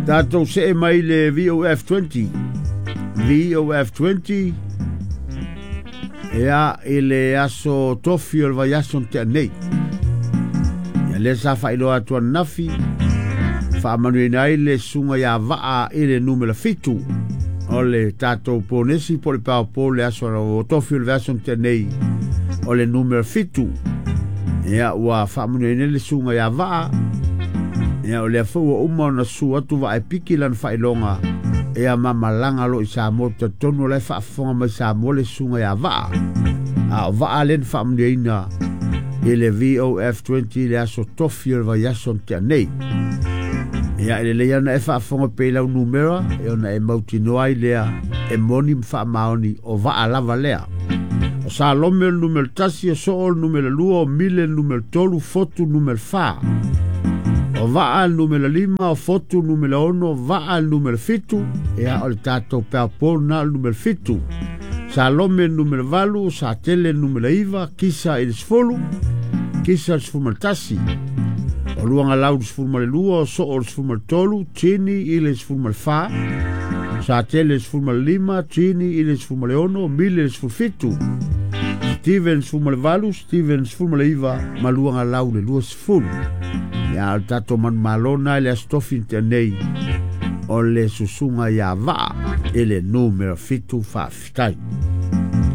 Tatou see mai le VOF 20. VOF 20 ia i le aso tofi o le vaiaso na tea nei. Ia lea sa faailoa atu ananafi, faamanuiaina ai le susuga ia Vaa i le numera 7 o le tatou ponesi po o le paopo le aso tofi o le vaiaso na tea nei o le numera 7. Ia ua faamanuiaina le susuga ia Vaa. Ia o lea foi ua uma ona susu atu Vaa e piki lana faailoga ia mamalaga lo i Samoa, talitonu o la e faafofoga mai Samoa le susuga ia Vaa. A o Vaa lea na faamanuiaina i le VOF 20 le aso tofi o le vaiaso na tea nei. Ia e lelei ona e faafofoga pea i lau numera e ona e mautinoa ai lea e moni ma faamaoni o Vaa lava lea. O Salome o le numera 1, o Soo o le numera 2, o Mile le numera 3, Fotu numera 4. O Vaa le numera 5, o Fotu numera 6, Vaa le numera 7, ia o le tatou peapo na le numera 7. Salome le numera 8, Satele le numera 9, Kisa i le 10, Kisa le 11. O Luagalau le 12, o Soo le 13, Tini i le 14, Satele le 15, Tini i le 16, Mile le 17. Steven 18, Steven 19, ma Luagalau le 20. Ia o le tatou manumalo na i le aso tofi na tea nei o le susuga ia Vaa i le numera 7. Faafetai.